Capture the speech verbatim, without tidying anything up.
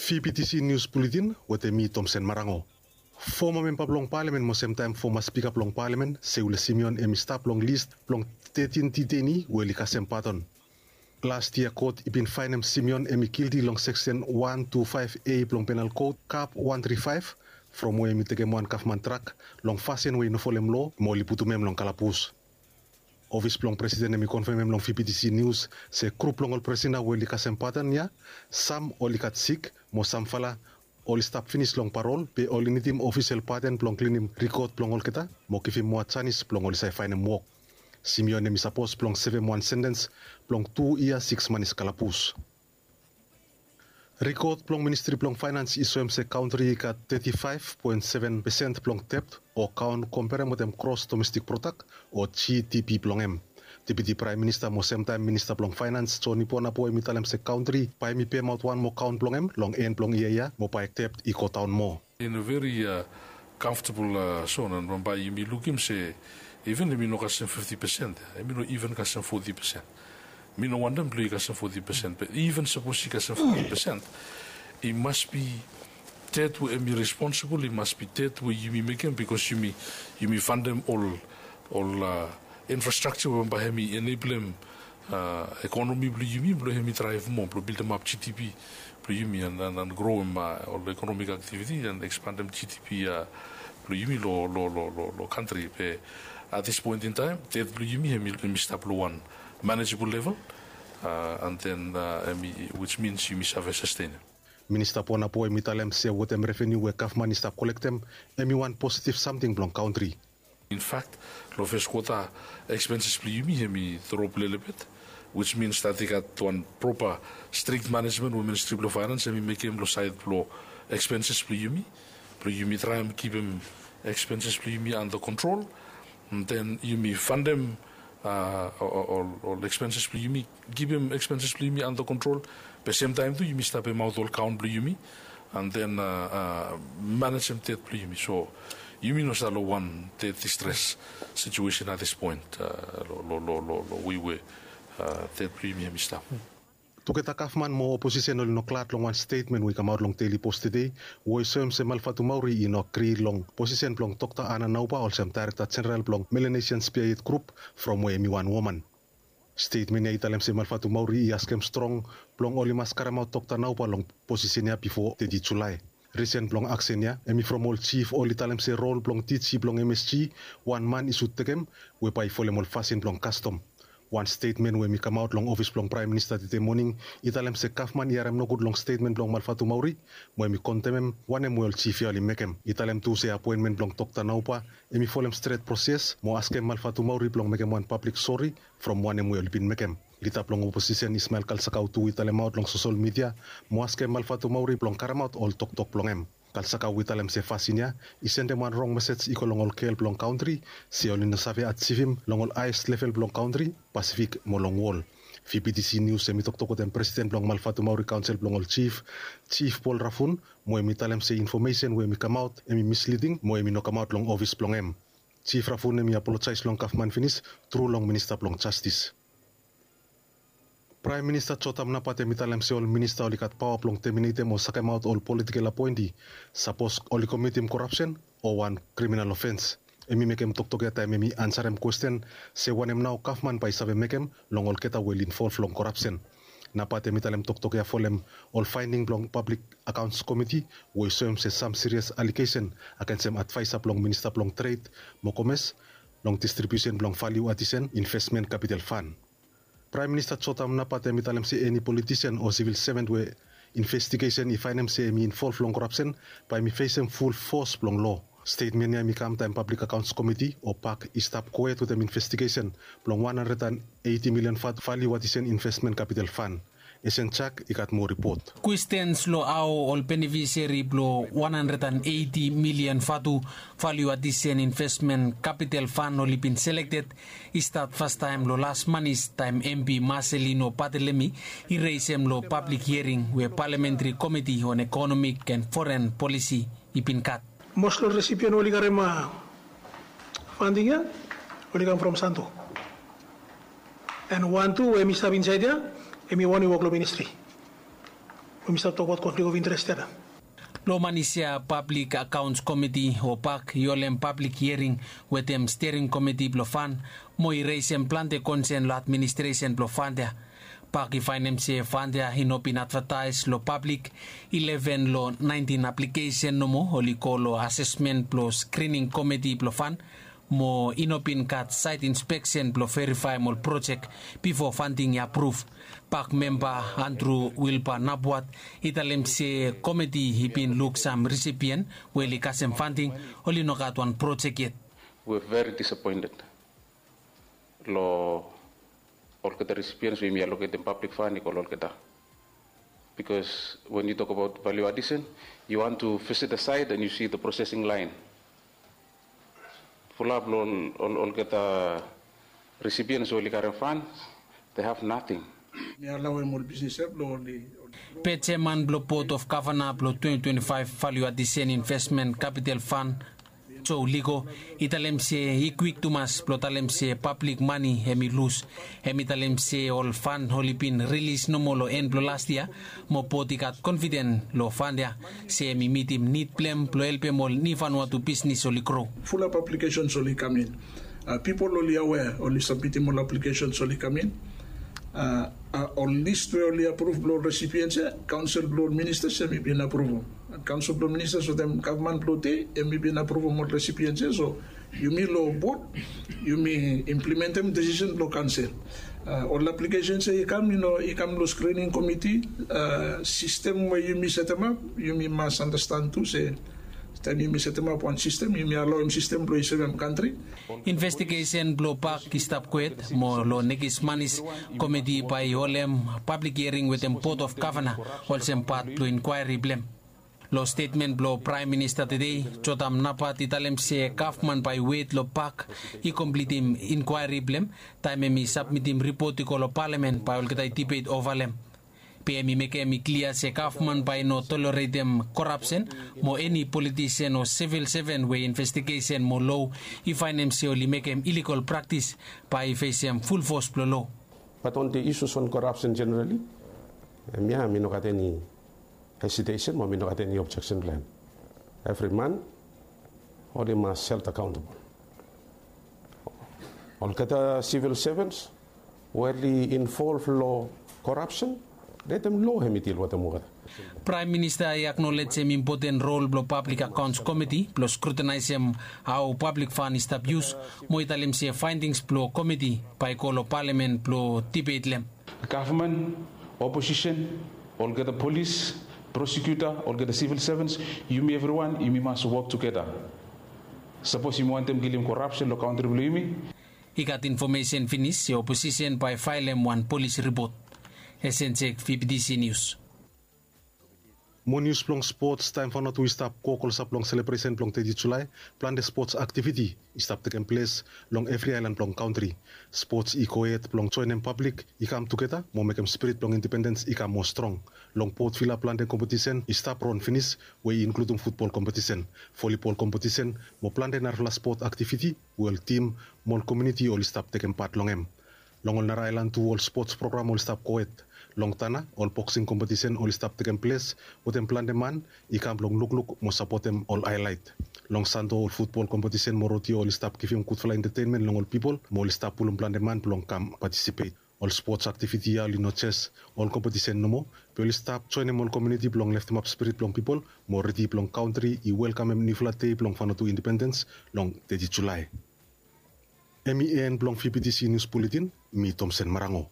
Vptc Nius Buletin wetem mi, Tomsen Marango. Foma memba blong palamen mo semtaem foma spika blong palamen, Seule Simeon, hem i stap long lis blong tetin diteini we oli kasem padon. Las yia kot i bin faenem Simeon hem i gilti long seksen wan tu faef A blong Penal Kot, kap wan tri faef, from we hem i tekem wan gavman drak long fasin we i no folem loa, mo oli putum hem long kalabus. Ofis blong presiden hem i konfemem long Vptc Nius se grup blong ol prisina we oli kasem padon ya, sam oli gat sik, mo samfala oli stap finis long parol, be oli nidim ofisel padon blong klinim rikod blong olgeta mo givim moa janis blong oli save faenem wok. Simeon hem i sapos blong sevem wan sentens blong tu yia sikis manis kalabus. Rikod blong Ministri blong Faenans i soem se kantri i gat teti faef poen seven pesen blong debt o kaon komperem wetem gros domestik prodak o GDP blong hem. Deputi Praem Minista mo semtaem Minista blong Faenans, Joni Ponabo, hem i talem se kantri bae hem i pemaot wan moa kaon blong hem long en blong yia ya, mo bae debt i godaon moa. In a very, uh, comfortable, uh, zone, and bambae yumi lukim se even hem i no kasem fifti pesen, hem i no even kasem foti pesen. Mi no wantem blong i kasem foti pesen, be even sapos i kasem foti pesen, i mas bi debt we hem i responsibol, i mas bi debt we yumi mekem, bikos yumi, yumi fantem ol, ol, uh, infrastructure we bambae hem i eneblem, uh, ekonomi blong yumi blong hem i draev moa, blong bildemap GDP blong yumi, and, and, and groem, uh, ol economic activity and ekspandem GDP, uh, blong yumi lo, lo, lo, lo, lo kantri. Be at this point in time, debt blong yumi hem i, hem i stap lo wan manageable level, uh, and then, uh, hem i, which means yumi save sustain. Minista Ponabo hem i talem se wetem revenu we gavman i stap kolektem, hem i wan positiv samting blong kantri. In fact, lo fes kwota, expenses blong yumi hem i drop lelebet, which means that i gat wan propa strict management we Ministri blong Faenans hem i mekem lo saed blo expenses blong yumi, blo yumi traem kipim expenses blong yumi under control. And then yumi fantem, uh, ol, ol, ol expenses blong yumi, kipim expenses blong yumi under control. Be semtaem tu yumi stap pemaot ol kaon blong yumi, and then, uh, uh, manejem debt blong yumi. So yumi no stap lo wan debt distress situation at this point, uh, lo, lo, lo, lo, lo wei we, uh, debt blong yumi hem i stap. Tugeta gavman mo oposisen oli no glad long wan stetmen we i kamaot long Daily Post tede, we i soem se Malvatumauri i no agri long posisen blong Dokta Ana Nauba olsem Daerekta Jeneral blong Melanesian Spearhead Group, from we hem i wan woman. Stetmen ya i talem se Malvatumauri i askem strong blong oli mas karemaot Dokta Nauba long posisen ya bifo teti Julae. Risen blong aksen ya hem i from ol jif oli talem se rol blong DG blong MSG, wan man i sud tekem, we bae i folem ol fasin blong kastom. Wan stetmen we hem i kamaot long ofis blong Praem Minista tede moning i talem se gavman i harem nogud long stetmen blong Malvatumauri, mo hem i kondemem wanem we ol jif ya oli mekem. I talem tu se apoenmen blong Dokta Nauba hem i folem stret proses, mo askem Malvatumauri blong mekem wan pablik sori from wanem we oli bin mekem. Lida blong oposisen Ismael Kalsakau tu i talemaot long sosol midia mo askem Malvatumauri blong karemaot ol toktok blong hem. Kalsakau i talem se fasin ya i sendem wan rong mesej i go long ol gel blong kantri, se oli no save ajivim long ol haes level blong kantri, Pasifik mo long wol. Vptc Nius hem i toktok wetem presiden blong Malvatumauri Kaonsel blong ol Jif, Jif Paul Rafun, mo hem i talem se infomesen we hem i kamaot hem i misliding mo hem i no kamaot long ofis blong hem. Jif Rafun hem i apolojaes long gavman finis tru long Minista blong Jastis. Praem Minista Jotam Napat hem i talem se ol minista oli gat paoa blong teminetem o sakemaot ol politikel apoenti sapos oli komitim korapsen o wan kriminal ofens. Hem i mekem toktok ya taem hem i ansarem kwesten se wanem nao gavman bae i save mekem long olgeta we oli involv long korapsen. Napat hem i talem toktok ya folem ol faending blong Pablik Akaons Komiti we i soem se sam sirias alegesen agensem advaesa blong Minista blong Tred mo Komes long distribiusen blong valiu adisen investmen kapital fan. Praem Minista Jotam Napat hem i talem se eni politisen o sivil seven we investigesen i faenem se hem i involv long korapsen bae hem i fesem ful fos blong loa. Stetmen ya hem i kam taem Pablik Akaons Komiti o PAK i stap gohed wetem investigesen blong wan handred and eiti milian vatu valiu adisen investmen kapital fan. Esen Jak i gat moa ripot. Kwestens long hao ol benefiseri blong wan handred and eiti milian vatu valiu adisen investmen kapital fan oli bin selekted i stat fastaem long las manis taem MP Marcelino Barthelemy i resem long pablik hiering we Palamentri Komiti on Ekonomik and Foren Polisi i bin gat. Mos long resipian oli karem fanding ya oli kam from Santo. And wan tu we mi stap insaed ya, em i wan i wok long ministri. Mista tokbaot konflik of interes ya. Long manis ya, pablik akaons komiti o pak i holem pablik hiering wetem stiaring komiti blong fan mo i resem plante konsen long administresen blong fan ya. Pak i faenem se fan ya i no bin advataes long pablik. Ileven long naentin aplikesen nomo oli go long asesmen blong skrining komiti blong fan mo i no bin gat saet inspeksen blong verifaem ol projek bifo fanting i apruv. Pak memba Andru Wilba Nabuat i talem se komiti i bin luk sam risipien we oli kasem fanting oli no gat wan projek yet. We're very disappointed lo olgeta recipients we yumi allocatem public fund i go lo olgeta. Because when you talk about value addition, you want to visit the site and you see the processing line. Fulap lo olgeta recipients we oli karem fund, they have nothing. Mi allow em ol business ya blo oli. Pet jeman blo Board of Governor blo twenty twenty-five Value Addition Investment Capital Fund, Joe Ligo, i talem se i kwik tumas blo talem se pablik mane hem i lus. Hem i talem se ol fund oli bin rilis nomo lo en blo las yia, mo board i gat konfiden lo fund ya se hem i mitim nid blo hem blo helpem ol Vanuatu bisnis oli gro. Fulap aplikesens oli kam in. Pipol oli awea, oli sabmitim ol aplikesens oli kam in. Ol list we oli apruv blo ol resipiens ya, kaonsel blo ol ministas hem i bin apruvum. Kaonsel blo ministas wetem gavman blo dei hem i bin apruvum ol resipiens ya. So yumi lo bod yumi implimentem desisen blo kaonsel. Ol aplikesens ya i kam, i kam lo skrining komiti. Sistem we yumi setemap, yumi mas andastan tu se taem yumi setemap wan sistem, yumi alaoem sistem blo i sevem kantri. Investigesen blo pak i stap kwet mo lo nekis manis komiti bae i holem pablik hiering wetem Board of Governor olsem pat blo inkwaeri blo hem. Lo stetmen blo Praem Minista tedei, Jotam Napat i talem se gavman bae i wet lo pak i komplitim inkwaeri blo hem taem hem i sabmitim ripot i go lo palamen bae olgeta i dibet ova lo hem. Be hem i mekem i klia se gavman bae i no toleretem korapsen mo eni politisen o sivil seven we investigesen mo lo i faenem se oli mekem iligol praktis bae i fesem fulfos blo lo. Bat on the issues on korapsen jenerali, hemia mi no gat eni hesitesen mo mi no gat eni objeksen blo hem. Evri man oli mas held akaontabol. Olgeta sivil sevens we oli involv lo korapsen, letem lo hem i dil wetem olgeta. Praem Minista i aknolejem impoten rol blo Pablik Akaons Komiti blo skrutinaesem hao pablik fan i stap yus mo i talem se faendings blo komiti bae i go lo palamen blo dibet lo hem. Gavman, oposisen, olgeta polis, prosekuta, olgeta sivil sevens, yumi evriwan yumi mas wok tugeta. Sapos yumi wantem kilim korapsen lo kantri blo yumi. I gat infomesen finis se oposisen bae i faelem wan polis ripot. Esenjek, Vptc Nius. Mo nius blong spots. Taem Vanuatu i stap go klosap long selebresen blong teti Julae, plante spots aktiviti i stap tekem ples long evri aelan blong kantri. Spots i gohed blong joenem pablik i kam tugeta mo mekem spirit blong indipendens i kam moa strong. Long Port Vila plante kompetisen i stap ron finis we i inkludum futbol kompetisen, volibol kompetisen mo plante narafala spot aktiviti we ol tim mo ol komuniti oli stap tekem pat long hem. Long ol nara aelan tu ol spots program oli stap gohed. Long Tanna ol boksing kompetisen oli stap tekem ples wetem plante man i kam blong lukluk mo sapotem ol aelaet. Long Santo ol futbol kompetisen mo rodeo oli stap givim gudfala entetenmen long ol pipol mo oli stap pulum plante man blong kam patisipet. Ol spots aktiviti ya oli no jes ol kompetisen nomo, be oli stap joenem ol komuniti blong leftemap spirit blong pipol mo redi blong kantri i welkamem niufala dei blong Vanuatu indipendens long teti Julae. Hem i en blong Vptc Nius Buletin. Mi Tomsen Marango.